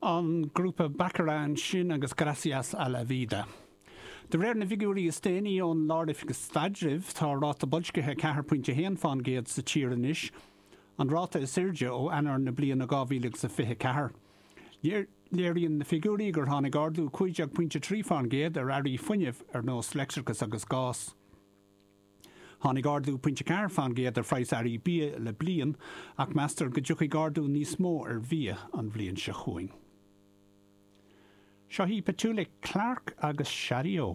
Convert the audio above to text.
An grúpa Baccara ansin agus Gracias a la Vida. De réir na bhfigiúirí is déanaí ón Lár-Oifig Staidrimh, tá ráta boilscithe 4.1 fán gcéad sa tír anois, an ráta is airde ó Eanáir na bliana 2024. Léiríonn na figiúirí gur tháinig ardú 15.3 fán gcéad ar earraí fuinnimh ar nós leictreachas agus gás. Tháinig ardú 0.4 fán gcéad ar phraghas earraí bia le bliain, ach meastar go dtiocfaidh ardú níos mó ar bhia an bhliain seo chugainn. Seo í Petula Clark agus Shadio.